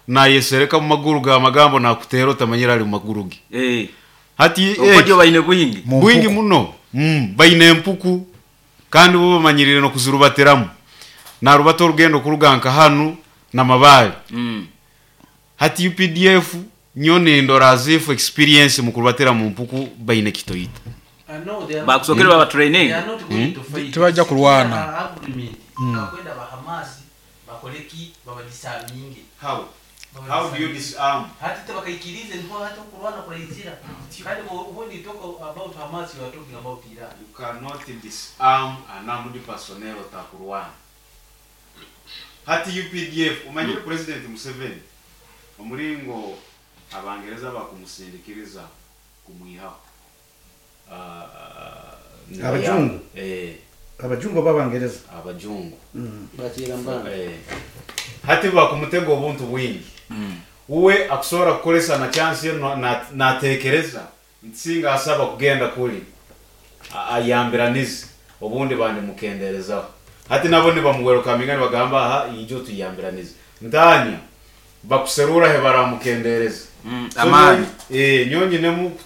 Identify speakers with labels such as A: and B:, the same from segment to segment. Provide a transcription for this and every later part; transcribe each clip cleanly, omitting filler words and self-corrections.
A: Nayesereka mu maguru ge amagambo nakuteera otamanyire ari mu maguru ge.
B: Eh.
A: Hati
B: Obukodyo
A: eki
B: baine bwingi.
C: Mu
A: bwingi
C: mpuku.
A: muno. Mm, baine empuku kandi bo bamanyiriire n'okuzirubatiramu. Narubata orugendo kuruga nka hanu na Mabaale.
B: Mm.
A: Hati updf nyowe nindora as if experience mu kurubatira mu mpuku baine kitoito.
B: Bakusookere baba training.
C: Tibaija kulwana.
A: How? How do you disarm? You cannot disarm an armed personnel otakurwana. Hati updf omanyire President Museveni omuringo Abangereza bakumusindikiriza kumwihaho nibayamba.
D: Abajungu?
A: Eh.
D: Abajungu oba Abangereza?
A: Abajungu. Eh. Hati bakumutega obuntu bwingi. Uwe akusobora kukoresa na chance ye natekereza nti singa asaba kugenda kuri ayambiranize obundi bandimukenderezaho. Hati nabo nibamuwerokaminga nibagamba aha ija otuyambiranize. Ntanya bakuserura hebaramukendereza. So
B: Amaani.
A: nyowe nyinemu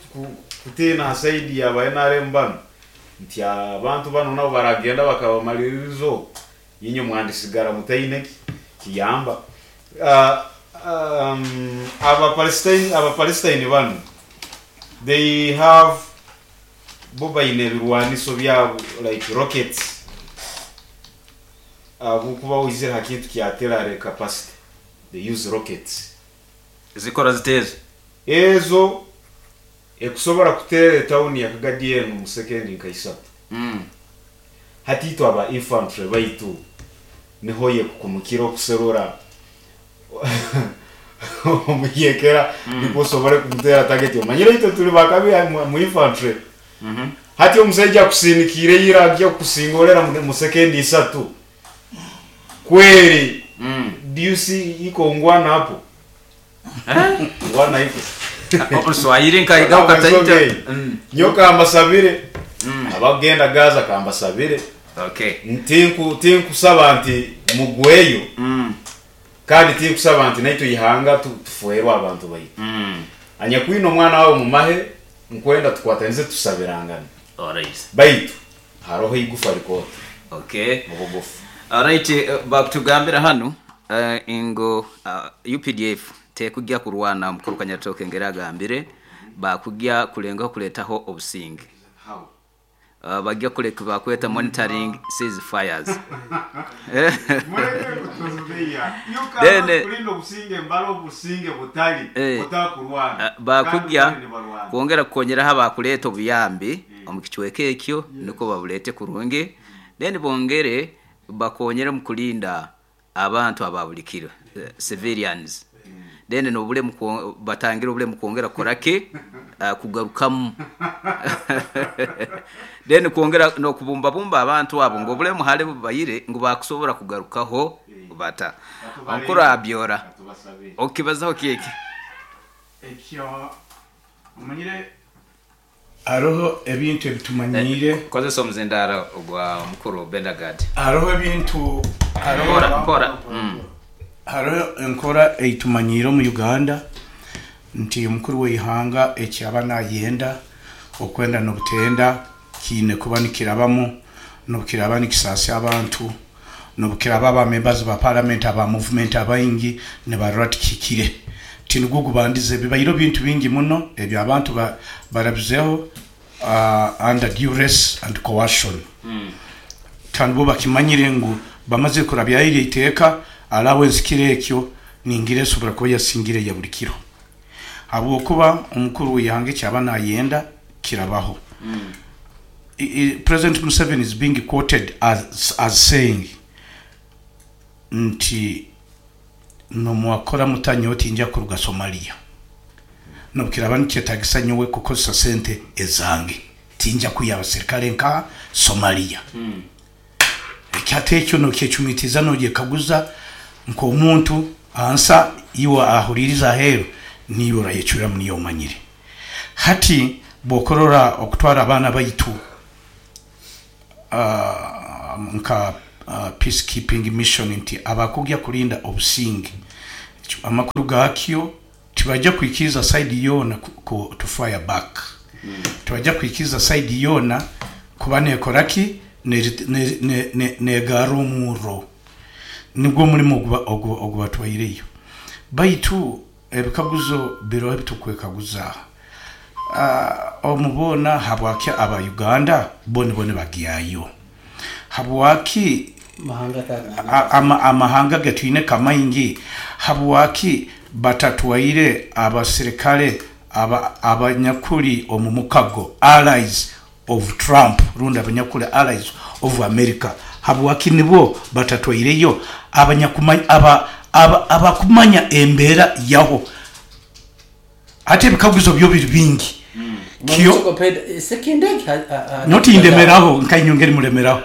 A: kutiina ha side ya ba nrm banu nti abantu banu nabo baragenda bakabamaririza oku inywe mwandisigara mutaine ki kiyamba. Aba Palestine, aba Palestine banu they have bo baine ebirwaniso byabo like rockets ahabw'okuba oizire ha kintu kya artillery capacity they use rockets.
B: Zikora zita ezo?
A: Ezo ekusobora kuteera etawuni ya Kagadi enu omu sekendi nka isatu. Hati itwe aba infantry baitu niho yekukumukira okuserura omuyekera nikwo osobore kumuteera target. Omanyire itwe tuli bakabi mu infantry. Hati omusaija akusindikiire ira agya kukusingorera mu sekendi isatu kweri do you see iko ngwana hapo? Ngwana iko.
B: Oluswahili nkaigaho kataito.
A: Nyowe kambasabire abakugenda Gaza kambasabire
B: Okay.
A: Tinku tinkusaba nti mugweyo kandi tinkusaba nti naitwe ihanga tufwerwe abantu baitu. Anyakwine omwana wawe omu mahe nkwenda tukwatanize tusabirangane.
B: Alright.
A: Baitu haroho eigufa rikooto
B: Okay.
A: obugufu.
B: Alright, bakutugambira hanu ngu UPDF tekugya kurwana mukuru Kanyaritoke ngeri agambire, bakugya kulengaho kuletaho obusinge.
A: How?
B: Bagya kuleka bakweta monitoring cease fires.
A: Mureke kuturubiya. You
B: Then,
A: cannot kulinda obusinge mbara obusinge butari butakurwana.
B: Bakugya
A: Kandi nibarwana.
B: kwongera kukonyeraho abakuleta obuyambi omu kicweka ekyo nukwo babulete kurungi, then bongere bakonyere omu kulinda abantu aba buli kiro, civilians. Then n'obulemu batangire obulemu kwongera kukora ki? Kugarukamu. Then kwongera n'okubumbabumba abantu abo ngu obulemu hali bubaire ngu bakusobora kugarukaho bata. Omukuru Abyora, okibazaho ki eki?
E: Ekyo omanyire hariho ebintu ebitumanyiire.
B: Kozesa omuzindaaro ogwa mukuru Bendagard.
E: Hariho ebintu, hariho
B: Mpora, mpora.
E: Hariho enkora eitumanyiire omu Uganda nti omukuru w'eihanga eki aba nayenda okwenda n'obutenda kiine kuba nikirabamu n'obu kiraba nikisaasya abantu n'obu kiraba aba members ba parliament aba movement abaingi nibarora tikihikire. Tinigwo gubandize bibaireho bintu bingi muno ebi abantu barabizeho under duress and coercion. Kandi bo bakimanyire ngu bamazire kurabyayo eryo iteeka, allowance kiro ekyo ningira esobora kuba yasingire eya buri kiro. Habwokuba omukuru w'eihanga eki aba nayenda kirabaho. President Museveni is being quoted as, as saying nti nomwakora muta nyowe tinja kuruga Somalia. Nobu kiraba nikyetagisa nyowe kukozesa sente ezange, tinja kwiha abaserikale nkaha Somalia. Eki hati ekyo nokyecumitiza nogyekaguza nk'omuntu ansa iwe ahuririze aheru niiwe orayecweramu niiwe omanyire. Hati bwokurora okutwara abaana baitu nka peace keeping mission nti abakugya kurinda obusinge. Amakuru gaakyo tibaija kwikiriza side yoona ku to fire back. Tibaija kwikiriza side yoona kuba nekora ki? Negaarra omurro. Nigwo omurimo ogubatwaireyo. Baitu ebikaguzo biroho ebitukwekaguza. Omu boona habwaki aba Uganda bo nibo nibagyayo? Habwaki amahanga agetwine kamaingi habwaki batatwaire abasirikare abanyakuri omu mukago, allies of Trump, rundi abanyakuri allies of America, habwaki nibo batatwaireyo abakumanya embera yaho? Hati ebikaguzo byo biri bingi. Kyo nyowe tindemeraho nka inywe ngeri mulemeraho.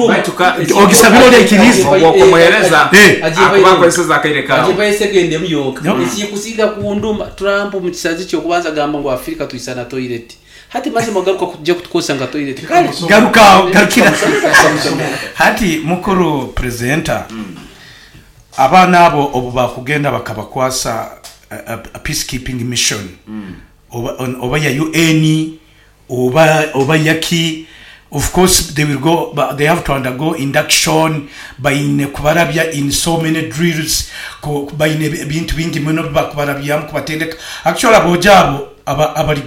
B: Baitu ka
E: Ogisabire ori aikiriize.
B: Ogwo okumuhereza akuba akozeseze akaire kawe.
F: Agimpayo esekendi emu yonka. Ekikusinga kunduma, Trump omu kisazi kye okubanza agamba ngu Afrika tuisana toilet. Hati mazima garuka kuja kutukozesa nka toilet. Kale.
E: Garuka aho, garukira. Hati mukuru presenter, abaana abo obu bakugenda bakabakwasa peace keeping mission oba ya UN oba yaki, of course they will go, they have to undergo induction, baine kubarabya in so many drills, baine ebintu bingi muno ebibakubarabyamu kubatendeka. Actually aboojo abo abari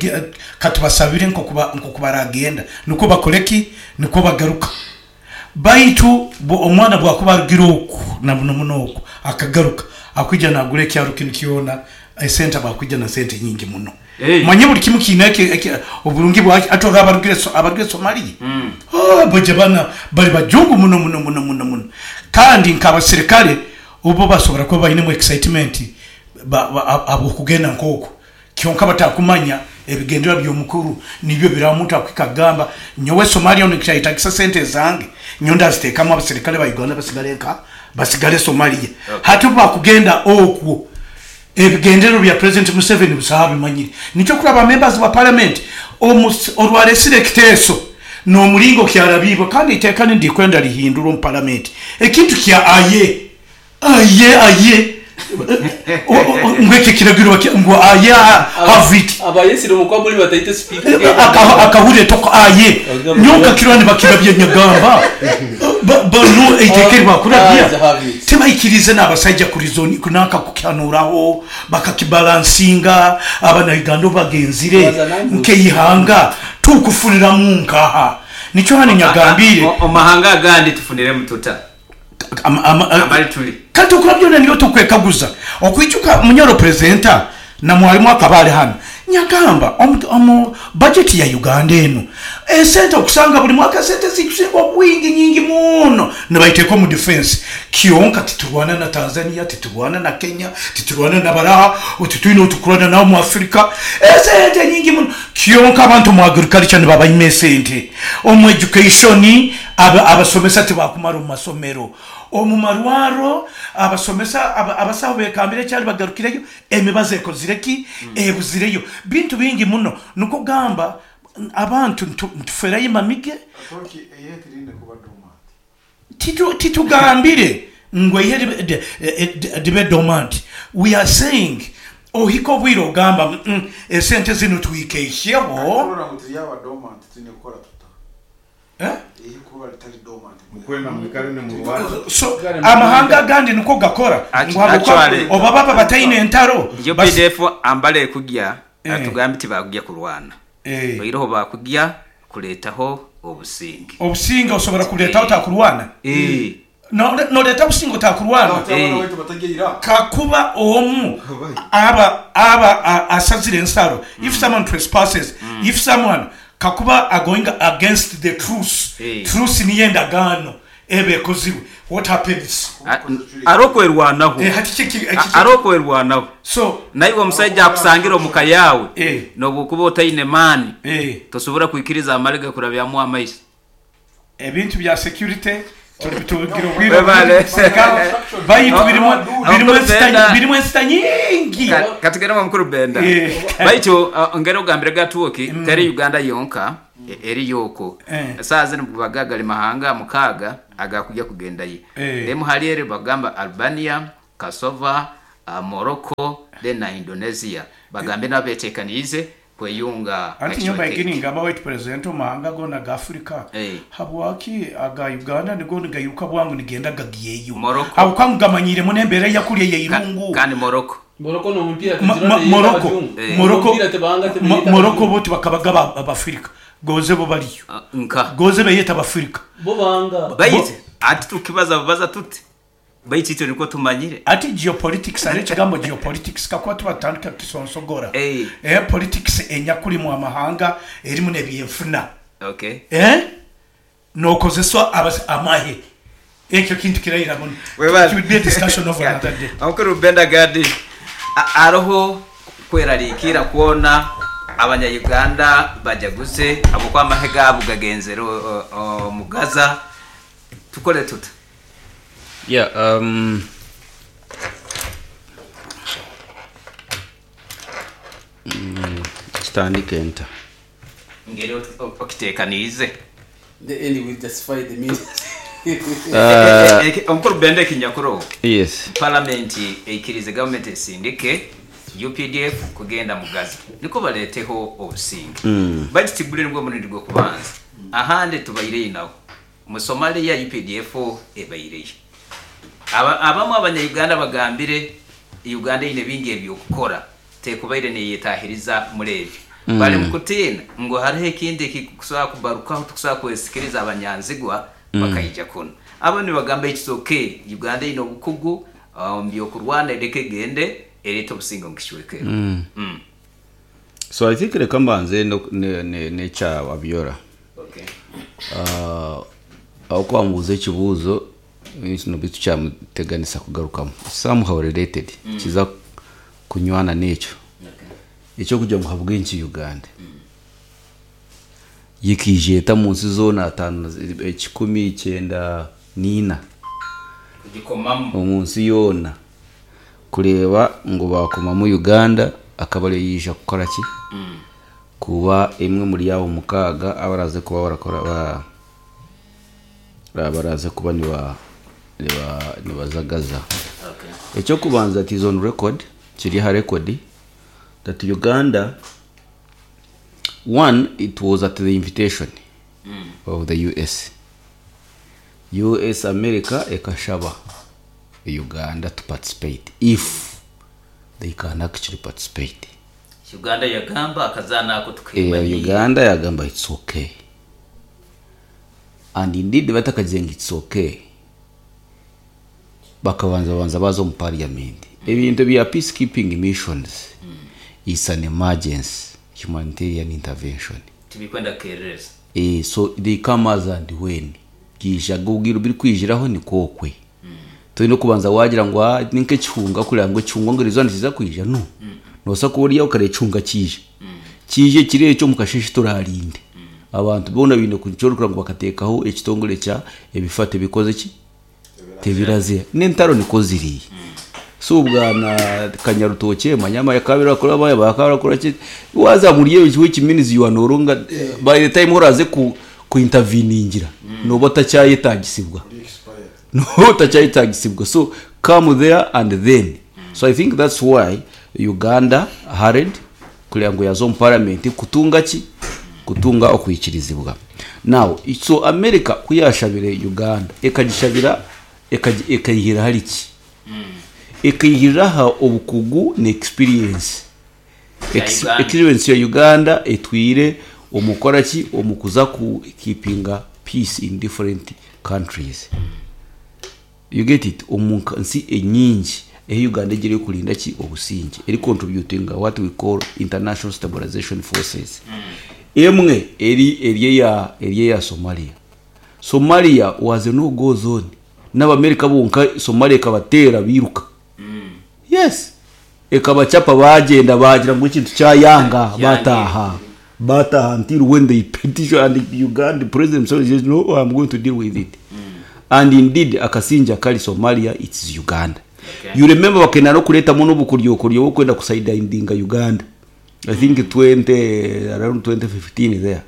E: katubasabire nkoku baragenda nikwo bakore ki? Nikwo bagaruka. Baitu omwana bwakuba arugire oku na muno muno oku akagaruka, akwija nagura ekyaro kinu kyona, esente aba akwija na sente nyingi muno. Manya buri kimu kiine oburungi bwakyo. Hati oraba abarugire Somalia, baija bana bari bajungu muno muno muno muno muno. Kandi nk'abasirikare obu basobora kuba bainemu excitement ahabw'okugenda nk'oku. Kyonka batakumanya ebigendererwa by'omukuru nibyo biraha omuntu akuhika akugamba, nyowe Somalia onu nikyayetagisa sente ezange, nyowe ndazitekamu abaserikale ba Uganda basigale nka? Basigale Somalia. Hati obu bakugenda okwo, ebigendererwa bya President Museveni busaho abimanyire. Nikyo okuraba ba members ba parliament orwaresire ekiteeso n'omuringo kyarabiibwe kandi eiteeka nindikwenda rihindurwe omu parliament ekintu kya aye Aye, aye, ngu ekyo ekiragiro ngu aye have it.
F: Abayesire omu kwamuri bataite sipiika
E: Akahurira etoko aye. Nyowe nkakirora nibakirabya nyagamba banu eiteeka eri bakurabya tibaikiriize n'abasaija kurizoni nanka kukihanuuraho bakakibalansinga abanauganda obu bagenzire nk'eihanga tukufuriramu nkaha nikyo hanu nyagambiire.
B: Omu mahanga agandi tufuniremu tuta? Nambari turi.
E: Kati okura byona niyo tukwekaguza. Okwijuka Munyoro Presenter na mwalimu akaba ari hanu nyagamba omu budget ya Uganda enu esente okusanga buri mwaka esente ezikusinga obwingi nyingi muno nibaiteka omu defense kyonka titurwana na Tanzania, titurwana na Kenya, titurwana na baraha, titwine otukurwana nabo omu Africa esente nyingi muno kyonka abantu omu agriculture nibabaima esente omu education Abasomesa tibakumara omu masomero. Omu marwaro, abasomesa, abasaho bekambire ekyari bagarukireyo, emibazi ekozire ki? Ebuzireyo. Bintu bingi muno. Nikwo kugamba abantu nituferayo emamige. Titugambire ngu eihe ribe dormant. We are saying ohike obwire ogamba esente zinu twikeihyeho. So amahanga agandi nikwo gakora ngu habwokuba
B: Actually,
E: oba baba bataine entaro bas.
B: UPDF ambara ekugya atugambe tibakugya kurwana oihireho bakugya kuretaho obusinge.
E: Obusinge osobora kuburetaho otakurwana? Noreeta obusinge otakurwana? Kakuba omu aba aba asazire ensaro, if someone trespasses, if someone kakuba agoinga against the truce, truce niyo endagaano eba ekozirwe, what happens?
B: Arokwerwanaho.
E: Hati ki eki.
B: Arokwerwanaho.
E: So.
B: Naiwe omusaija akusangire omu ka yaawe, nobu okuba otaine maani, tosobora kwikiriza amare gakurabyamu amaiso.
E: Ebintu bya security tugira obwire obwingi kusekaho baitu birimu ensita nyingi.
B: Katugende owa mukuru Benda. Baitu ngeri ogambire gatuuki teri Uganda yonka eriyo okwo. Esaaha zinu baga gari mahanga mukaaga agakugya kugendayo. Emu hali eri bakugamba Albania, Kasova, Morocco then na Indonesia bagambe nabo betekaniize kweyunga
E: Anti nyowe mbaire ningamba waitu president omu mahanga goona aga Africa habwaki aga Uganda nigo nigairuka bwangu nigenda gagyeyo habwokuba ngu gamanyiire muno embeera eyakuri eyeirungu.
B: Kandi Morocco.
E: Morocco Morocco Morocco bo tibakabaga Abafirika goze bo bariyo goze beyeta Abafirika.
B: Baitu hati tukibaza bubaza tuti Baitu itwe nikwo tumanyire.
E: Hati geopolitics hariho ekigambo geopolitics kakuba tuba tutandika kukisonsogora eh politics enyakurimu amahanga erimu nebyenfuna eh nokozesa amahe ekyo kintu kiraira muno it will be a discussion of another day.
B: Omukuru Benda Gadi, Hariho kwerarikirra kwona abanya Uganda bajaguze habwokuba amahe gaabo gagenzere omu Gaza. Tukole tuta?
G: Yeah, um, mm, kitandike nta?
B: Ngeri okiteekaniize.
F: The end will justify the means.
B: Omukuru Benda ekinyakuroho.
G: Yes.
B: Palamenti eikirize gavumenti esindike UPDF kugenda mu Gaza nikwo bareeteho obusinge. Baitu tiguri nigwo murundi gw'okubanza. Ahandi tubaireyo nabo. Omu Somalia updf ebaireyo. Abamwe abanya Uganda bagambire Uganda eine bingi ebyokukora tekubaire neyetahiriza muri ebyo. Bari mukutiina ngu hariho ekindi ekikusobora kubarukaho tukusobora kwesikiriza abanyanzigwa bakaija kunu. Abamwe nibagamba it's ok Uganda eine obukugu omu byokurwana ereke egende erete obusinge omu kicweka ekyo.
G: So I think reka mbanze n'ekya Abiola. Ahabw'okuba wamubuuza ekibuuzo kinu beitu kyamuteganisa kugarukamu. It's somehow related, nikiza kunywana n'ekyo. Eky'okugira ngu ahabw'enki Uganda yo ekaija eta omu nsi zoona ataano ekikumi kyenda n'ina omu nsi yoona kureeba ngu baakomamu Uganda akaba ariyo yaija kukora ki? Kuba emwe omuri abo mukaaga abaraaze kuba barakora ba abaraaze kuba niba niba nibaza Gaza. Eky'okubanza it is on record, kiri aha record that Uganda one it was at the invitation of the US. US America ekashaba Uganda to participate if they can actually participate.
B: Uganda yagamba akazaano ako tukemanyiire.
G: Uganda yagamba it's okay and indeed batakagize ngu it's okay bakabanza babanza baza omu parliament. Ebintu ebya peace keeping missions it's an emergency humanitarian intervention.
B: Tibikwenda kukerereza.
G: So they come as and when byaija obwire obu birikwijiraho nikwo okwe. Toine kubanza waagira ngu aa ni nk'ekihunga kureba ngu ekihunga ngu eriizooba nikiza kwija no. Noobaasa kuba ori aho okareeba ekihunga kyaija. Kyaija ekiro ekyo omu kasheeshe torarinde. Abantu boona baine nikyo orikureeba ngu bakateekaho ekitongore kya ebifa tibikoze ki? Tibiraziha. N'entaro nikwo ziri. So bwana Kanyarutookye manya amahe akaba arakora akaba arakora ki, waaza omuri ebyo which means you are no longer by the time oraaze ku ku interveningira nooba otakyayetaagisibwa. Nooba otakyayetaagisibwa so come there and then. So I think that's why Uganda hurried kureba ngu yaaza omu parliament kutunga ki? Kutunga okwikirizibwa. Now so America ku yaashabire Uganda ekagishabira ekaihira ahari ki? Ekaihirira aha obukugu na experience. Experience ya Uganda etwire omu kukora ki? Omu kuza ku keepinga peace in different countries. You get it? Omu nsi enyingi ehi Uganda egiire erikurinda ki? Obusingye. Eri contributinga what we call international stabilization forces. Emwe eri eri eya eri eya Somalia. Somalia was a no go zone. N'Abamerika bonka Somalia ekabateera bairuka. Yes. Ekabachapa baagyenda baagira ngu ekintu kyayanga baataaha. Baataaha until when they petition and Uganda president Museveni says no I'm going to deal with it. And indeed akasingye akari Somalia it's Uganda. You remember bakenda n'okureetamu n'obukoryokoryo bw'okwenda kusaidindinga Uganda. I think 20 around 2015 there.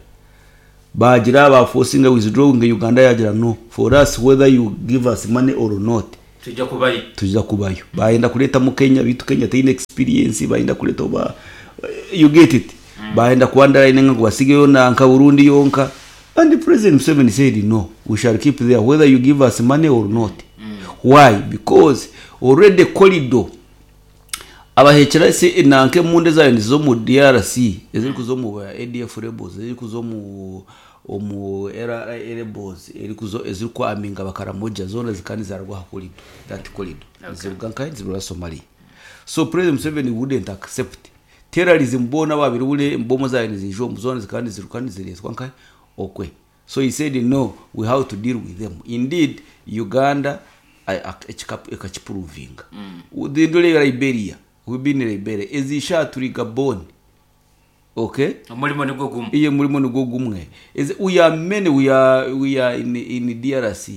G: Baagira ba forcinga withdrawing Uganda yaagira no for us whether you give us money or not.
B: Twija kubayo.
G: Twija kubayo. Bayenda kureetamu Kenya beitu Kenya teine experience bayenda kureeta oba you get it? Bayenda ku underline ngu basigeyo nanka Burundi yonka and President Museveni said no we shall keep there whether you give us money or not. Why? Because already corridor abahekyera se nanka emundu ezabaire niziza omu DRC ezirikuza omu ADF rebels ezirikuza omu omu LRA rebels erikuza ezirikwaminga abakaramoja zoona zikaba nizarugwa aha corridor that corridor niziruga nkahi niziruga Somalia so President Museveni wouldn't accept terrorism boona ababaire bure bomu ezabaire niziija omu zoona zikaba niziruka nizireetwa nkahi okwe So he said no we have to deal with them indeed Uganda ekakipuruvinga ndore Liberia we been in Liberia ezi ishaaha turi Gabon okay
B: Omurimo nigwo gumwe.
G: Iye omurimo nigwo gumwe ezi we are many we are we are in in DRC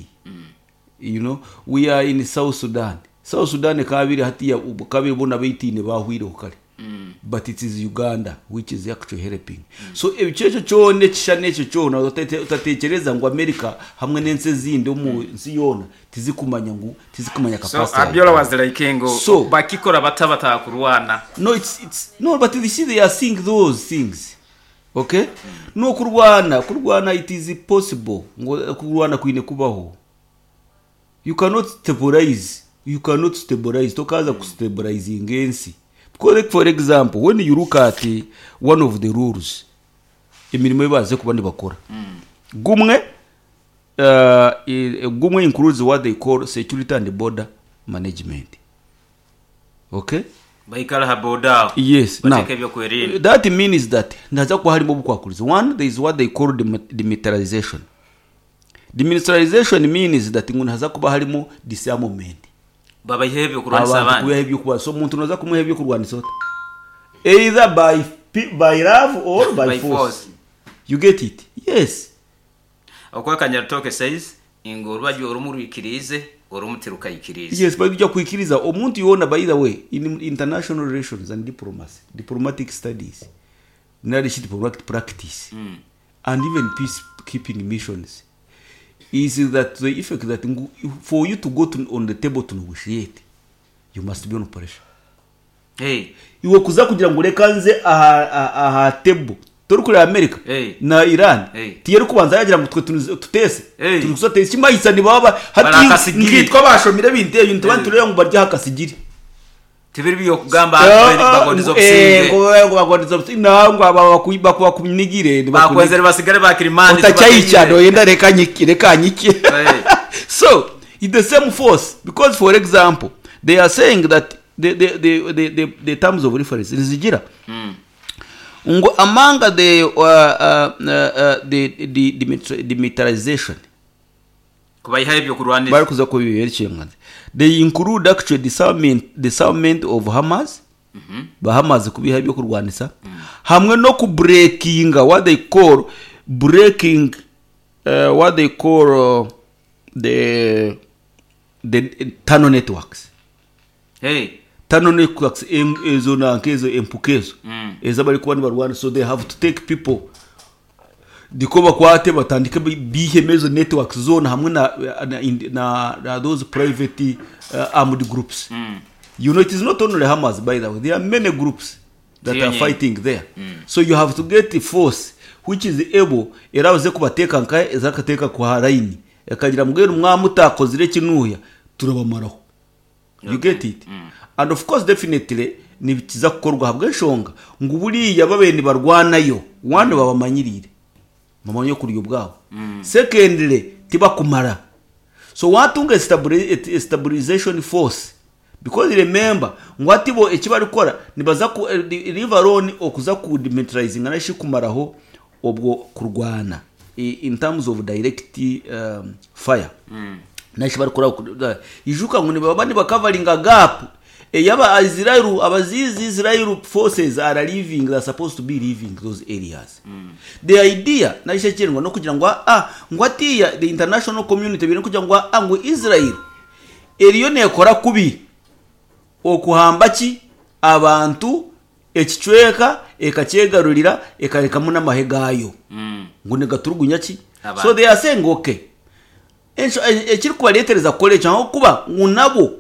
G: you know we are in South Sudan South Sudan kabiri hatiya kabiri bona baitiine bahwireho kare but it is Uganda which is actually helping so ekyo ekyo kyona ekishushani ekyo kyona otatekyereza ngu America hamwe n'ensi ezindi omu nsi yoona tizikumanya ngu tizikumanya
B: So
G: capacity ya
B: Abiola
G: Uganda
B: was like ngu
G: so
B: bakikora bata batakurwana.
G: no it's it's no but you see they are seeing those things okay no kurwana kurwana it is possible ngu kurwana kwine kubaho You cannot stabilize, you cannot stabilize, tokaza ku stabilizinga ensi. Because like for example, when you look at one of the rules, emirimo ei baaze kuba nibakora. Gumwe, gumwe includes what they call security and border management. Okay?
B: Baikara aha boda aho.
G: Yes. Now,
B: Bateeka ebyokwerinda.
G: that means that nihaza kuba harimu obukwakurizo. One, there is what they call demilitarization. Demilitarization means that ngu nihaza kuba harimu disarmament.
B: Babaiheho ebyokurwanisa
G: Abantu
B: abandi.
G: kubihaho ebyokurwanisa. Omuntu noza kumuha ebyokurwanisa ota? Either by, by love or by,
B: By
G: force.
B: force.
G: You get it? Yes.
B: Okweka Nyarutooke says ngu orubaju orumu rwikiriize orumu tirukaikiriize.
G: Yes, but ija kwikiriza omuntu yoona by the way in international relations and diplomacy, diplomatic studies, nari shi diplomatic practice and even peace keeping missions is that the effect that ngu for you to go to, on the table to negotiate you must be on pressure.
B: Hey.
G: Iwe kuza kugira ngu reka nze aha, aha, aha table torikureeba America
B: Hey.
G: na Iran
B: Hey.
G: tiyerikubanza yagira ngu twe tunize- tuteese
B: Hey.
G: turi kuza teese kimahisa nibaba hati
B: Barakasigiri.
G: nkitwe abashomire ebintu ebyo nituba
B: Hey.
G: nitureeba ngu bari aha kasigiri
B: Tibiri by'okugamba bagondeza obusinge.
G: ngo bagondeza obusinge nangwa aba bakunigire
B: Bakwenzere basigare bakirimani
G: otakyayikya noyenda reka nyike reka nyike
B: Hey.
G: so it's the same force because for example they are saying that the terms of reference nizigira ngu among the the demilitarization
B: Kubaihaho ebyokurwanisa.
G: Barikuza kubiberekyengana they include actually disarmament of Hamas ba Hamas kubiha ebyokurwanisa hamwe n'oku breakinga what they call breaking what they call the tunnel networks.
B: Hey.
G: Tunnel networks ezo nanka ezo empuka ezo ezi abarikuba nibarwana so they have to take people ndiko bakwate batandike bihemu ezo networks zoona hamwe na, na, na, na those private armed groups. You know it is not only Hamas by the way there are many groups that
B: Tiyo
G: are
B: nyingi.
G: fighting there. So you have to get a force which is able erabaze kubateeka nka ezakateeka ku line ekagira mbwenu mwamutakozire kinuya turabamaraho. You get it? And of course definitely nibikiza kukorwa ahabw'enshonga ngu buriya babaire nibarwanayo one babamanyiriire bamanye okurya obwabo secondly tibakumara so watunga stabilization force because remember ngu hati bo eki barikukora nibaza ku leave alone okuza ku demilitarizinga nari shi kumaraho obwo kurwana in terms of direct fire nari shi barikukora ijuka ngu nibaba nibakavaringa gap eyaba Israel abazizi Israel forces are leaving they are supposed to be leaving those areas the idea nari shi ekiri nokugira ngu ngu hatiya the international community biri kugira ngu ngu Israel eriyo nekora kubi okuhamba ki abantu ekicweka ekakyegarurira ekarekamu n'amahe gaayo ngu nigaturugunya ki
B: Abantu.
G: so they are saying okay Ensho- e- Ekirikubareetereza kukora ekyo ahabw'okuba ngu nabo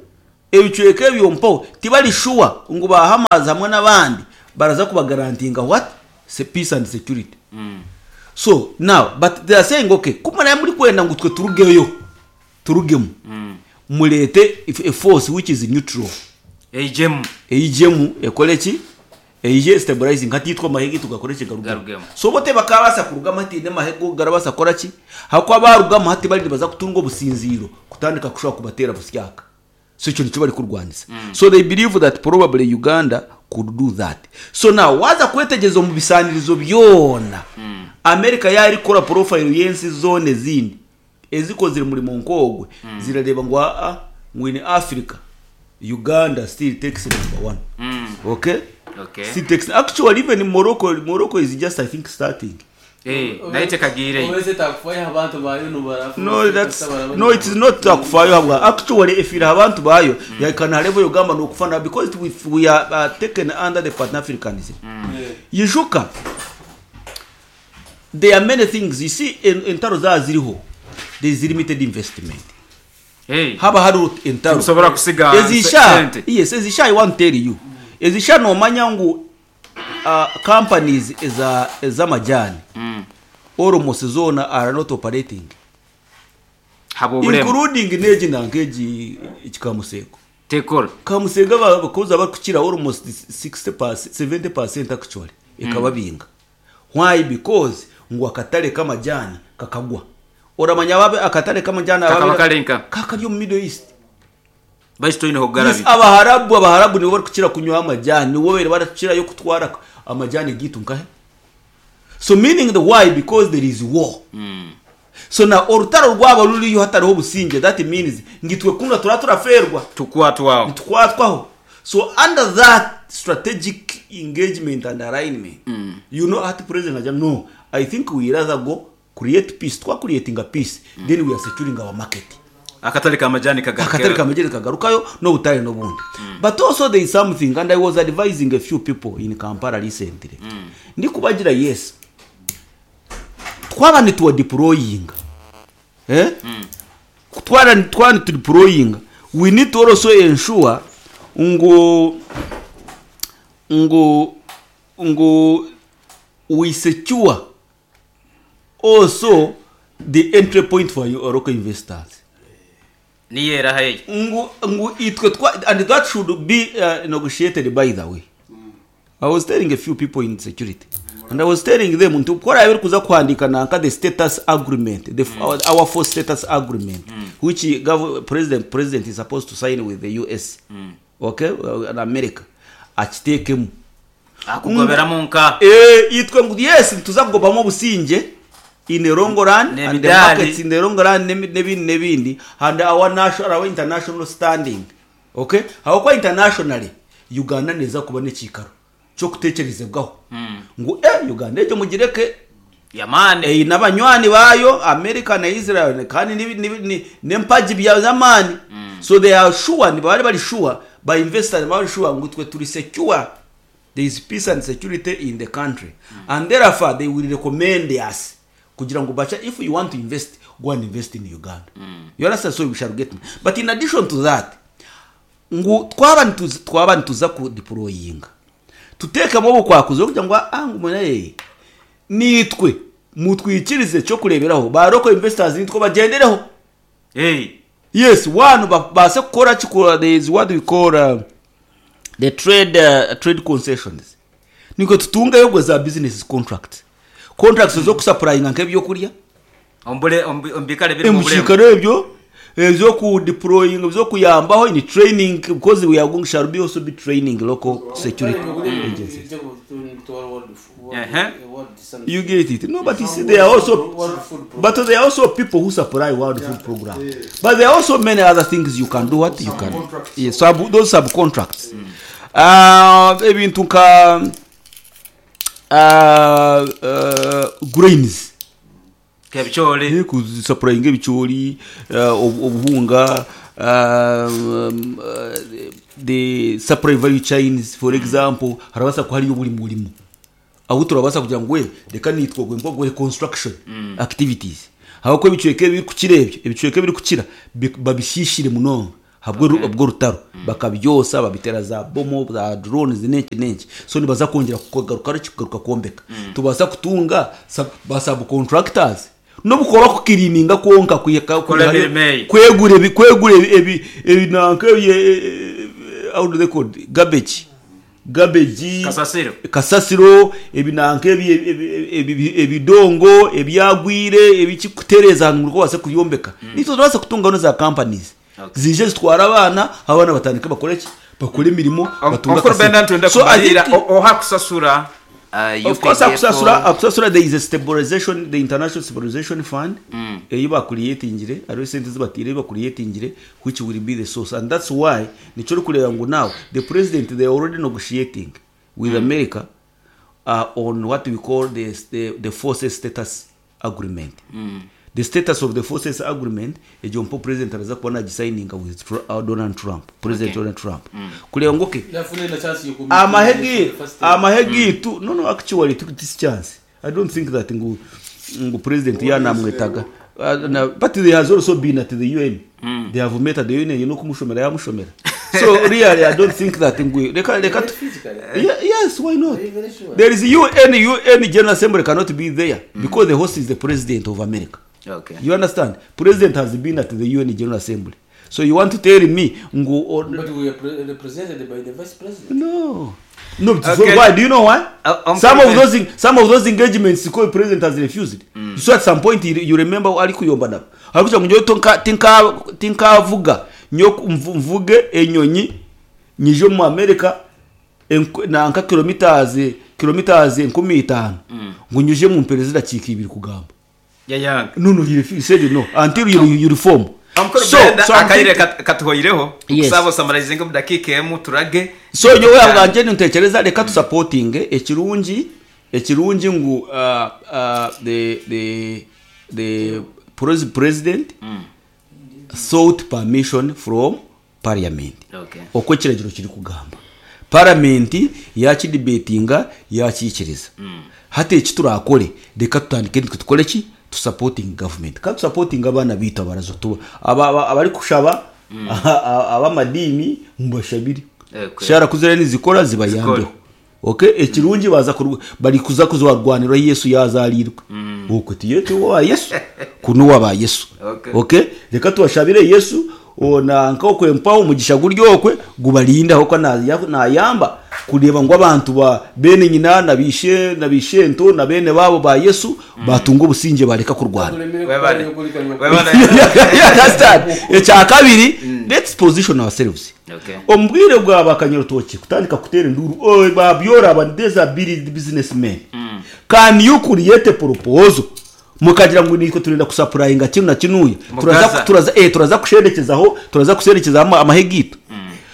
G: ebicweka ebyo mpaho tibari shuwa ngu ba Hamas hamwe n'abandi baraza kubagarantinga what? Se peace and security. So now but they are saying okay ku muraabe murikwenda ngu twe turugeyo turugemu mureete a force which is neutral
B: Eijemu.
G: Eijemu ekore ki? Eije estabilizing hati itwe amahe gaitu gakore ki? Garugemu.
B: Garugemu.
G: So bo tibakaabaasa kurugamu hataine mahe go garabaasa kukora ki? Ahakuba baarugamu hati bari nibaza kutunga obusinziiro kutandika kushuba kubateera busyaka. So ekyo nikyo barikurwanisa. So they believe that probably Uganda could do that. So now waaza kwetegyereza omu bisaanirizo byona, America yaaba erikukora profile y'ensi zoona ezindi ezikozire omurimo nk'ogwe, zirareeba ngu aa, ngu in Africa, Uganda still takes number one. Okay?
B: Okay.
G: Still takes, actually even Morocco, Morocco is just I think starting.
B: Eh, nayo tekagiireyo.
F: Owese takufayo aha bantu bayo nobarafa
G: No, that's, no, it is not takufayo habwa actually efire aha bantu bayo yahika na level yogamba nokufa na because we, we are taken under the pan africanism. Yijuka there are many things you see en, entaro zaba ziriho there is limited investment.
B: Hey.
G: Haba hariho entaro
A: Tikusobora kusiga
G: ezisha
A: sente.
G: yes ezisha I want to tell you ezisha nomanya ngu uh, companies eza ez'amajani mm. almost zona are not operating
B: Habw'obulemu.
G: including n'egi nanka egi ekikamusego
B: Tekora.
G: Kamusega abakozi abarikukira almost 60 70% actually ekababinga why because ngu akatare k'amajani kakagwa oramanya ababe akatare k'amajani
B: Kakaba kari nka?
G: kakari omu Middle East.
B: Baitu toine
G: Yes,
B: hokugarabira.
G: Abaharabu Abaharabu nibo barikukira kunywa amajani nibo babaire barakukirayo kutwara amajani gaitu nkahe so meaning the why because there is war so na orutaro rwaba ruriyo hatariho obusingye that means ngu itwe kunu turaba turafeerwa
A: Tukwatwaho.
G: nitukwatwaho so under that strategic engagement and alignment you know hati president agira no i think we rather go create peace twa creatinga peace then we are securing our market.
A: Akatare k'amajani kagarukeyo.
G: Akatare k'amajani kagarukayo n'obutare n'obundi. But also there is something and I was advising a few people in Kampala recently. Ndikubagira yes twaba nituwa deployinga eh? Twaba twaba nitu deployinga we need to also ensure ngu ngu ngu we secure also the entry point for your local investors.
B: Niyo eraha egyo?
G: Ngu ngu itwe twa and that should be negotiated by the way. I was telling a few people in security and I was telling them nti ku oraabe orikuza kuhandiika nanka the status agreement the our force status agreement which gov president president is supposed to sign with the US okay and America akiteekemu
B: Akugoberamu nka.
G: Eh, itwe ngu yes nituza kugobamu obusingye in the long run and the
B: N'emidaari.
G: markets in the long run n'emi- n'ebindi n'ebindi and our national our international standing okay ahabw'okuba internationally Uganda neeza kuba n'ekiikaro ky'okutekyerezebwaho ngu eh Uganda egyo mugireke
B: Y'amaani.
G: eine abanywani baayo America na Israel kandi nibi- nibi- ni- n'empagi bya z'amaani so they are sure nibaba bari sure ba investors nibaba bari sure ngu itwe turi secure There is peace and security in the country and therefore they will recommend us kugira ngu bacha if you want to invest go and invest in Uganda. You understand? So we shall get but in addition to that ngu twaba nituza twaba nituza ku deployinga tutekemu obukwakuzi kugira ngu ah ngu mune nitwe mutwikirize ekyokureberaho ba local investors nitwe bagyendereho.
B: Hey.
G: Yes, one babaase kukora ki there is what we call the trade trade concessions nikwe tutungeyo obwo za business contracts contracts ez'okusapurayinga nk'ebyokurya
B: Omu bure- omu bi- omu biikaro ebirimu
G: omu
B: obulemu.
G: kiikaro ebyo ez'okudeployinga ez'okuyambaho in training because we are going shall be also be training local security agencies.
B: Ehe.
G: You get it? No, but you see, there are also, but there are also people who supply World Food Program. But there are also many other things you can do. What you can, yes, sub, those subcontracts. Ebintu nka grains.
B: Nk'ebicoori.
G: Eh, kusupplyinga ebicoori, obuhunga, the supply value chains for example, harabaasa kuba hariyo buri murimo ahu turabaasa kugira ngu we reka naitwe ogwe nk'ogwe construction activities. Ahabw'okuba ebicweka ebirikukira ebyo, ebicweka ebirikukira babishiishire munonga ahabw'orutaro. Bakabyosa, babiteera za bomu, za drones n'enki n'enki. So nibaza kwongyera kugaruka ki? Kugaruka kwombeka. Tubaasa kutunga ba subcontractors n'obu kuba kukiriininga kwonka
B: Kukora emirimo eyo.
G: kwegura ebi kwegura ebi ebi nanka ebi how do they call it? Garbage. Garbage.
B: Kasasiro.
G: Kasasiro, ebi nanka ebi ebi ebidongo ebyagwire ebiki kutereeza ahantu ngu obaase kubyombeka. Naitwe turabaasa kutungaho na za companies. Ziije zitware abaana, abaana batandike bakore ki? Bakore emirimo batunge
B: Omukuru Benda
G: akasente.
B: nitwenda
G: So I
B: kumariira
G: think
B: oha akusasura?
G: Of course akusasura akusasura there is a stabilization the international stabilization fund eyi bakureatingire hariho esente ezi bataire eyi bakureatingire which will be the source and that's why nikyo orikureeba ngu now the president they are already negotiating with America on what we call the the forces status agreement. The status of the forces agreement egyo mpa president araza kuba nagisayininga with Donald Trump, president Donald Trump kureeba ngu okay
F: Yafuna na chance yoku
G: amahe
F: meeting
G: gi
F: for the first time.
G: amahe gitu no no actually this chance I don't think that ngu ngu president yanamwetaga na, but they has also been at the UN they have met at the UN no kumushomera yamushomera so really I don't think that ngu reka reka tu-
F: Physically.
G: Yeah, yes why not
F: Are you very sure?
G: there is UN UN General Assembly cannot be there because the host is the president of America
B: Okay.
G: you understand president has been at the UN General Assembly so you want to tell me ngu or,
F: But we are represented by the vice president.
G: No. No, so
B: Okay.
G: why? Do you know why? Some of those some of those engagements the president has refused. So at some point you, you remember ari kuyomba nabo. Ari kugira ngo nyowe tonka tinka tinkavuga nyo mvuge enyonyi nyije mu America nanka kilometers kilometers 50 ngo nyuje mu perezida dakika ibiri kugamba.
B: Yayanga.
G: No no he he said no until you, you reform.
B: Omukuru
G: So
B: Brenda
G: so I'm
B: akaire
G: thinking,
B: katuhoireho
G: Yes.
B: kusaba osamarizinge omu dakiika emu turage.
G: So nyowe abwangye nintekereza reka tusapotinge ekirungi ekirungi ngu the the the president sought permission from parliament
B: Okay.
G: oku ekiragiro kirikugamba paramenti yakidibetinga yakiikiriza hati eki turakore reka tutandike nitwe tukore ki tusapotinge government kandi tusapotinge abaana baitu abarazo tuba abarikushaba ab'amadiini mubashabire
B: Okay.
G: shara kuzira nizikora zibayambeho
B: Zikore.
G: okay ekirungi baza bari kuza kuzarwanira Yesu yazarirwe okwe tiye wa Yesu kuno waba Yesu
B: Okay.
G: okay reka tubashabire Yesu ona nka okwe mpaho omugisha guri okwe gubarinda aho nayamba kureba ngu abantu ba bene nyina na bishe na bishento na bene babo ba Yesu batunga obusinge bareka kurwana.
B: Webale. Webale.
G: You understand? Ekya kabiri let's position ourselves.
B: Okay.
G: Omu bwire bwa bakanyarutoki kutandika kuteera enduru oi babyora aba these are big businessmen. Can you create a proposal mukagira ngu nitwe turenda kusupplyinga kinu na kinuya turaza
B: Mugaza.
G: turaza turaza kusherekezaho turaza kuserekeza amahe gitu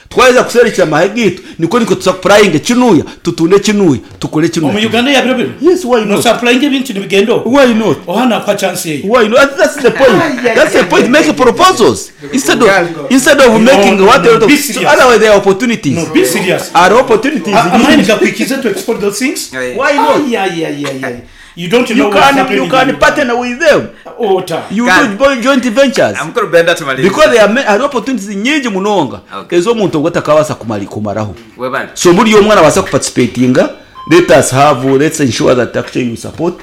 G: twaheza kuserekeza amahe gitu niko niko tusupplyinge kinuya tutunde kinuya tukore kinuya.
E: Omu Uganda yabiro biro.
G: Yes, why
E: No
G: not?
E: supplying ebintu nibigenda okwo.
G: Why not?
E: Ohana kwa chance eyo.
G: Why not? That's the point. That's the point. Make proposals instead of instead of
E: No,
G: making
E: no,
G: what
E: no,
G: no,
E: be
G: so
E: serious.
G: otherwise there are opportunities.
E: No, be serious.
G: Are opportunities.
E: Amaani gakwikize to export those things?
B: Yeah.
G: Why not?
E: Ay, ay, ay, ay, ay. You don't know
G: You
E: what's
G: can
E: happening
G: you can
E: in
G: partner with them.
E: Ota.
G: You
B: Can.
G: do joint ventures.
B: Omukuru Brenda tumalirize.
G: Because there are are opportunities nyingi munonga
B: Okay.
G: ez'omuntu ogwo atakabaasa kumaraho.
B: Webale.
G: So muri omwana abaasa kuparticipatinga let us have let's ensure that actually we support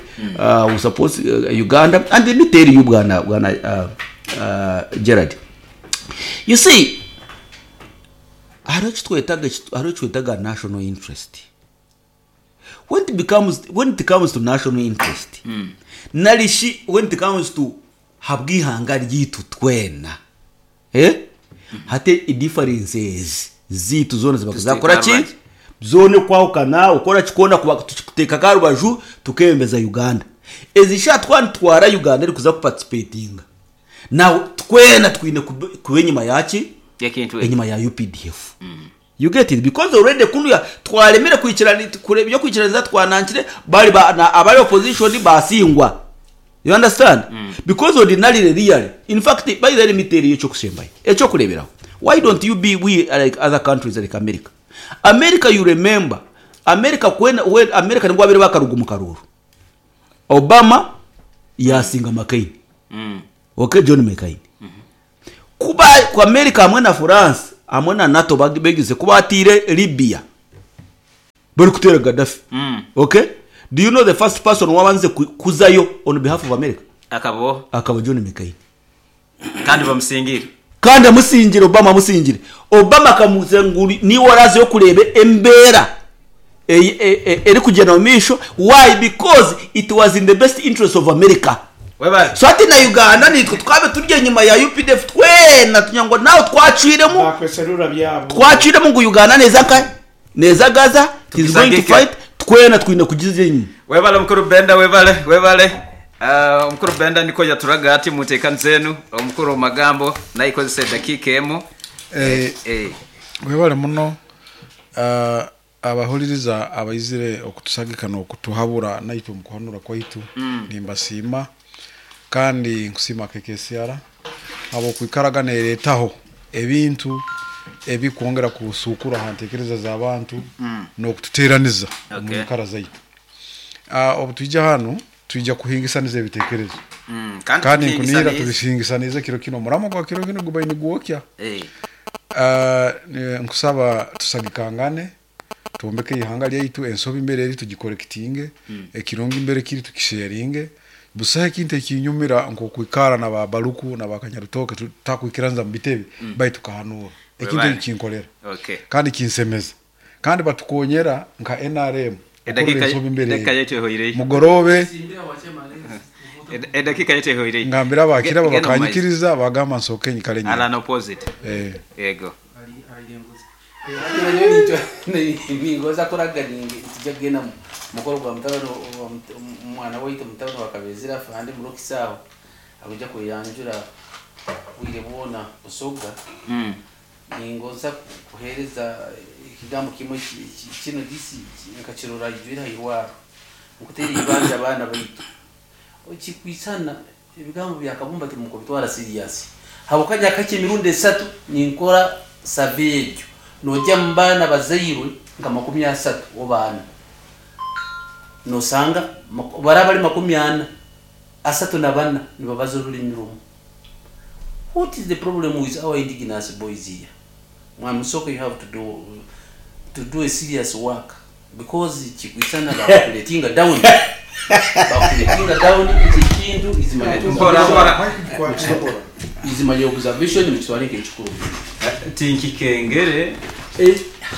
G: we support Uganda and let me tell you bwana bwana Gerard. You see hariho ekitwetaga hariho ekitwetaga national interest. When it becomes when it comes to national interest narishi when it comes to habwihanga ryitu twena hate differences zitu zona ziba zakora ki zone kwahukana ukora kikona kuba tukuteka karubaju tukembeza Uganda ezisha twantwara Uganda eri kuza kuparticipatinga now twena twine kuba enyuma yaki
B: Ekintu
G: enyuma ya UPDF. You get it because already kunuya twaremere kwikirana kure byo kwikiraniza twanankire bari ba, na abari opposition basingwa. You understand? Because ordinarily really in fact by the way tell you ekyo ekyo kureberaho. Why don't you be we like other countries like America? America you remember America when America nibwo abere bakaruga mu karuru. Obama yasinga McCain. Ok John McCain. Ku ba ku America hamwe na France hamwe na NATO begize ku bateire Libya barikuteera Gaddafi. Ok do you know the first person owabandize kuzayo on behalf of America?
B: Akaba oha?
G: Akaba John McCain.
B: Kandi bamusingire.
G: Kandi amusingire, Obama amusingire. Obama akamubuuza ngu niiwe oraazeyo kureeba embeera erikugyenda omu maisho, why? Because it was in the best interest of America.
B: Webale.
G: So hati na Uganda naitwe tukaabe turi enyima ya UPDF twena tugira ngu nawe twacwiremu,
E: Bakweserura byabo.
G: twacwiremu ngu Uganda neeza nkahe? Neeza Gaza, it is going to
B: Tugisagike.
G: fight, twena twine kugiza enyima.
B: Webale mukuru Benda webale webale. Ah, omukuru Benda nikwo yaturaga ati muteekanize enu omukuru omu magambo nayikozesa edakiika emu.
C: Eh,
B: Eh.
C: webale muno ah, abahuririza abaizire okutusagika n'okutuhabura naitwe omu kuhanura kwaitu nimbasiima kandi nkusiima KKCR habw'okwikaraga neereetaho ebintu ebikwongera kusuukura ha nteekereza z'abantu n'okututeeraniza omu
B: Okay.
C: nyikara zaitu. Ah, obu twija hanu twija kuhingisaniza ebiteekerezo
B: Kandi
C: kandi nkunihira
B: tubihingisanize.
C: tubihingisanize kiro kinu omuramo gwa kiro kinu gubaire nigwokya.
B: Eh.
C: Ah, nkusaba tusagikangane twombeke eihanga ryaitu ensobi mbere eri tugikorekitinge ekirungi mbere kiri tukisharinge busaho ekintu ekinyumira nk'okwikara na ba Baluku na ba Kanyarutoke tutakwikiraniza mu bitebe baitu tukahanuura ekintu
B: Webale.
C: eki kinkorera
B: Okay.
C: kandi kinsemeza kandi batukonyera nka NRM okukorera ensobi mbere
B: Edakika
C: eri
B: yaitu ehoireyo.
C: mugorobe
B: Edakika yaitu ehoireyo.
C: ngambira abakira
B: Genda omu maizi.
C: bakanyikiriza bagamba nsooke nyikare nyine
B: Alan opposite.
C: eh
B: Yego.
F: Ningoza kuraga nitujja kugenda mu mukoro gwa mutabani wa omwana waitu mutabani wa Kabezera afande murokisi aho akuja kweyanjura bwire bwona Busoga. Ningoza kuhereza ekigambo kimwe kino disi nkakirora ijwire hairwaro nkutera ibanja abaana baitu okikwisana ebigambo bya Kabumba timukubitwara serious habukanya kake emirundi esatu ninkora survey egyo nojja mu baana bazairwe nka 30 obaana nosanga baraba bari 40 34 nibabaza orurimi rumwe. What is the problem with our indigenous boys here? Mwami Musoke, you have to do a serious work because kikwisana bakuletinga down. Bakuletinga down iki kintu is my
B: Mpora mpora.
F: is my observation mukitware nk'ekikuru.
B: Tinkikengere.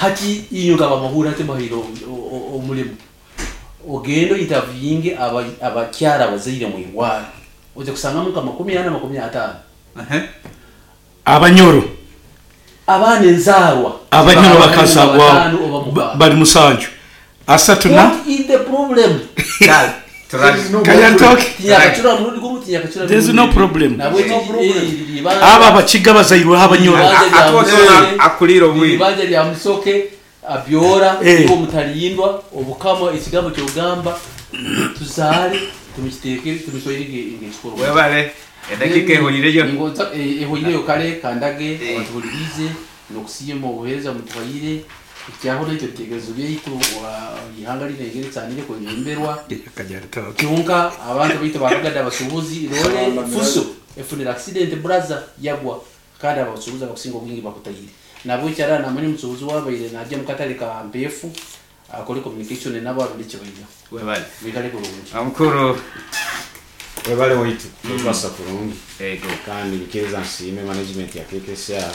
F: Hati inyuka bamahura ate mahiro omulimu ogendo interviewing abakyara abazaire mu irwaro oje kusangamu nka 40 50
E: Abanyoro.
F: Abaana enzarwa.
E: Abanyoro bakazagwa
F: Batano oba mukaaga.
E: bari musanju. Asatu na
F: What is the problem?
E: Kanyantoke.
F: Tinyakachura murundi gumu tinyakachura.
E: There's no problem.
F: Nabwe no problem.
E: Aba abakiga bazairweho abanyoro.
B: Akulira obwire.
F: Ibanja lya Musoke abyora
E: Eh.
F: uwo mutalindwa obukama ekigambo kyogamba tuzaale tumukiteeke tumuswaire ng'ekikuru.
B: Webale. Edakika ehoireyo.
F: Ningoza ehoireyo kale kandage abatuhulirize n'okusiima obuheereza mutuhaire ekyaho naitwe ebitekerezo byaitu ihanga rinengere tsanire kwebemberwa kyonka abantu baitu bakagada abasuubuzi role fuso efunira accident brother yagwa kandi abasuubuzi abakusinga obwingi bakutayire nabwo ekyara namanya omusuubuzi wabaire najja mu katale ka mpeefu akole communication nabo arunde ekibaija.
B: Webale.
F: Mwikale kurungi.
B: Omukuru.
A: Webale waitu kukwasa kurungi.
B: Ego.
A: Kandi nikiriza nsiime management ya KKCR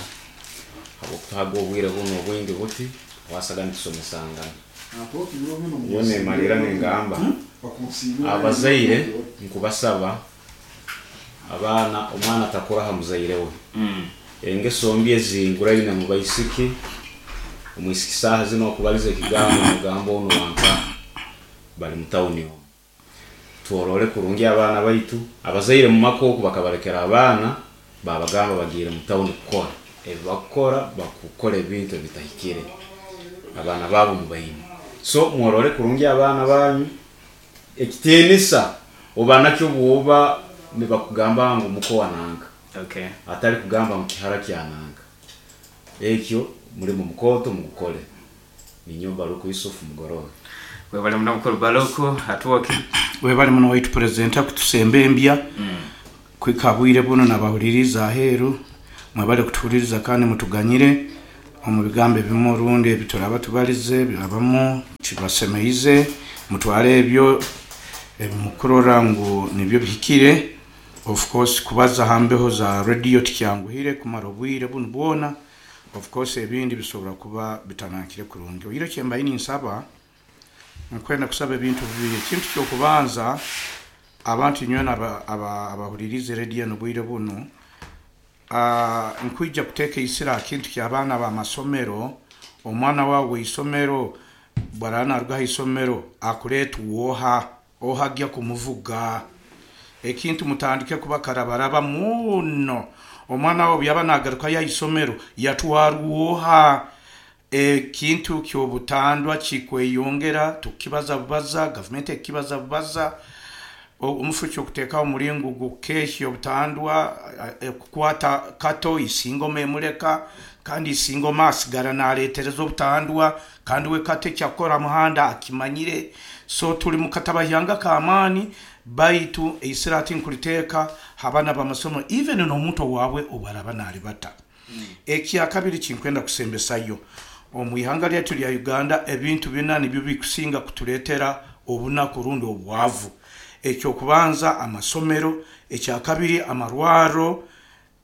A: habwokutuhaga obwire buno obwingi buti wasaga nitusomesangana. Yo nemalira nengamba abazaire nkubasaba abaana omwana atakura aha muzaire we. Engeso mbi ezinguraine mu baisiki omwisiki saaha zino okubaliza ekigambo omugambo ono wanka bari mu tawuni omwo. Tworore kurungi abaana baitu abazaire mu maka oku bakabarekera abaana babagamba bagiire mu tawuni kukora ebi bakukora bakukora ebintu ebitahikire abaana baabo mubaine. So mworore kurungi abaana banyu ekitiinisa oba nakyo bwoba nibakugamba ngu muko wananga.
B: Okay.
A: Atari kugamba ngu kihara kyananga. Ekyo muri mu mukoto mugukore. Ninyo Baruku Yusuf Mugorobe.
B: Webale muno mukuru Baruku atuoke.
E: Webale muno waitu president akutusemba embya. Kuhika aha bwire bunu nabahuririize aheeru, mwebare kutuhuririza kandi mutuganyire omu bigambo ebimwe orundi ebi turaba tubarize birabamu tibibasemeize. Mutware ebyo ebi mukurora ngu nibyo bihikire. Of course kubaza aha mbeho za rediyo tikyanguhire kumara obwire bunu bwona. Of course ebindi bisobora kuba bitanankire kurungi. Oihireho kyembaire ninsaba, nkwenda kusaba ebintu bibiri. Ekintu ky'okubanza, abantu inywena abahuririize rediyo enu obwire bunu, nkwija kuteeka eisira aha kintu ky'abaana b'amasomero. Omwana waawe w'eisomero bwaraaba naaruga aha isomero akureetwa oha? Oha agya kumuvuga? Ekintu mutandike kuba karabaraba muno. Omwana wawe obu yaba nagarukayo aha isomero yatwarwa oha? Ekintu ky'obutandwa kikweyongera, tukukibaza bubaza, gavumenti ekukibaza bubaza. Omufu ky'okuteekaho omuringo gw'okukehya obutandwa, kukwata Kato Isingoma emureka, kandi Isingoma asigara naretereza obutandwa. Kandi we Kato ekyakukora aha muhanda akimanyire. So turi mu katabahyanga k'amaani baitu eisira hati nkuriteeka ha baana b'amasomo even n'omuntu owawe obu araaba naaribata. Ekyakabiri kinkwenda kusembesayo, omu ihanga ryaitu rya Uganda ebintu bina nibyo bikusinga kutureetera obunaku rundi obwavu. Eky'okubanza amasomero, ekyakabiri amarwarro,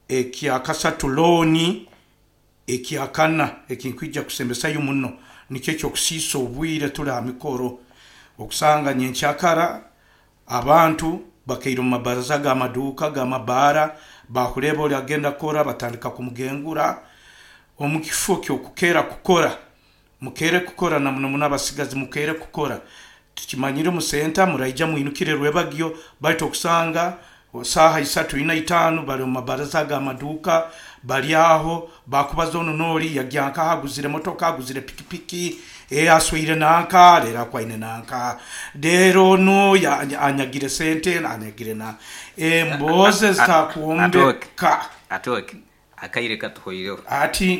E: ekyakasatu looni, Ekyakana ekinkwija kusembesayo muno nikyo eky'okusiisa obwire tuli aha mikoro. Okusanga nyenkyakara abantu bakaire omu mabaraza g'amaduuka, g'amabaara, baakureeba ori agenda kukora batandika kumugengura. Omu kifo ky'okukeera kukora, mukeere kukora na muno muno abasigazi mukeere kukora. Tukimanyire omu senta muraija mwinukire rwebagyo baitu okusanga saaha isatu, ina, itaanu bari omu mabaraza g'amaduuka bari aho bakubaza onu n'ori yagya nkaha aguzire motoka, aguzire pikipiki, ee asweire nanka reero akwaine nanka reero onu anyagire sente anyagire na emboozi ezitakwombeka.
B: Atooke, akaire katuhweireho.
E: Hati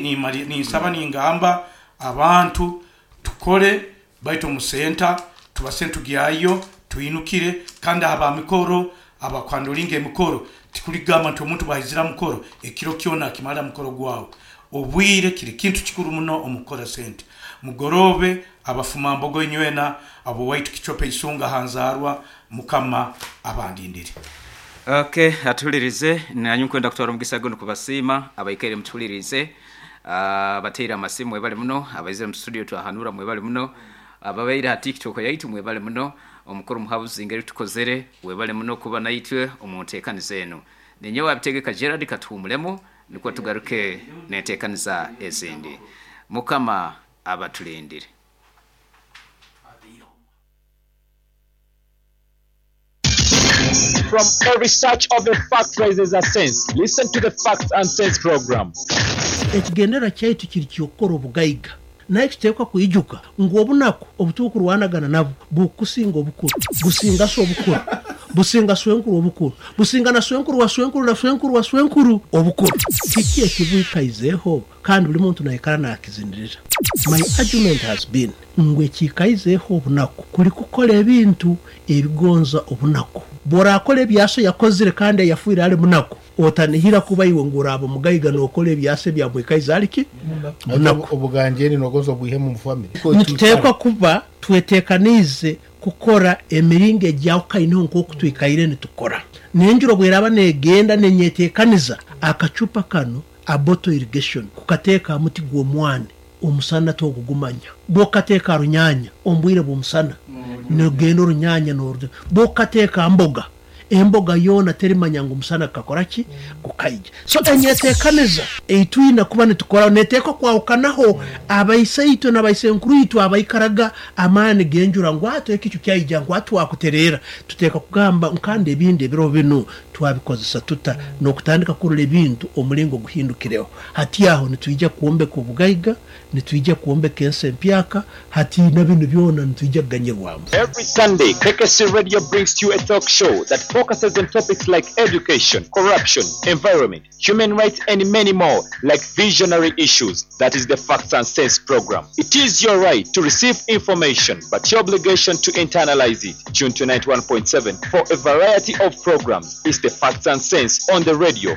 E: ninsaba ningamba abantu tukore Baitu omu senta tubase ntugyayo twinukire kandi aha ba mikoro abakuhandoringa emikoro tikurigamba nti omuntu bwaizire aha mukoro ekiro kyona akimara aha mukoro gwawe. Obwire kiri kintu kikuru muno omu kukora sente. Mugoroobe abafuma mbogo inywena ab'owaitu Kicope Isunga aha nzaarwa Mukama abandindire.
B: Ok atuhulirize nanye nkwenda kutwara omugisa gunu kubasiima abaikaire mutuhulirize. Abateire amasimu mwebale muno, abaizire omu studio twahanura mwebale muno, ababaire ha TikTok yaitu mwebale muno, omukuru Muhabuzi engeri tukozere webale muno kuba naitwe omu ntekaniza enu. Ninyowe Abitegeka Gerald katuhumulemu nukwo tugaruke n'entekaniza ezindi. Mukama abatulindire.
H: From a research of the facts raises a sense, listen to the Facts and Sense program.
D: Ekigendererwa kyaitu kiri ky'okukora obugaiga. Naitwe tuteekwa kwijuka ngu obunaku obu turikurwanagana nabwo bukusinga obukuru, businga so obukuru, businga swenkuru obukuru, businga na swenkuru wa swenkuru na swenkuru wa swenkuru obukuru. Kiki ekibwikaizeho kandi buri muntu naikara nakizinirira? My argument has been ngu ekiikaizeho obunaku kuri kukora ebintu ebigonza obunaku. Bw'orakora ebi aso yakozire kandi ayafwire ali munaku, otanihira kuba iwe ngu oraaba mugaiga nokora ebi aso ebyamwikaize ali ki? Munaku.
I: Obuganjeni nogonza obwihemu omu family?
D: Nituteekwa kuba twetekaniize kukora emiringo egyahukaineho nk'oku twikaire nitukora. N'enjura obweraaba negenda nenyetekaniza, akacupa kanu a bottle irrigation, kukateeka ha muti gw'omwani, omusana togugumanya. Bw'okukateeka ha runyaanya omu bwire bw'omusana, nogenda orunyanya noru. Bw'okukateeka ha mboga, emboga yoona terimanya ngu omusana gukakora ki? Gukaija. So enyeteekaniza ei twine kuba nitukoraho neteekwa kwahukanaho abaisaitwe na baisenkuruitwe abaikaraga amaani g'enjura ngu hati ekicu kyaija ngu hati twakutereera. Tuteekwa kugamba ngu kandi ebindi ebiro binu Twabikozesa tuta n'okutandika kurora ebintu omulingo guhindukireho? Hati aho nitwija kwombeka obugaiga, nitwija kwombeka ensi empyaka, hati na binu byona nitwija kuganyirwamu.
H: Every Sunday, KKC Radio brings to you a talk show that focuses on topics like education, corruption, environment, human rights and many more like visionary issues. That is the Facts and Sense program. It is your right to receive information but your obligation to internalize it. Tune to 91.7 for a variety of programs. It's the. the Facts and Sense on the radio.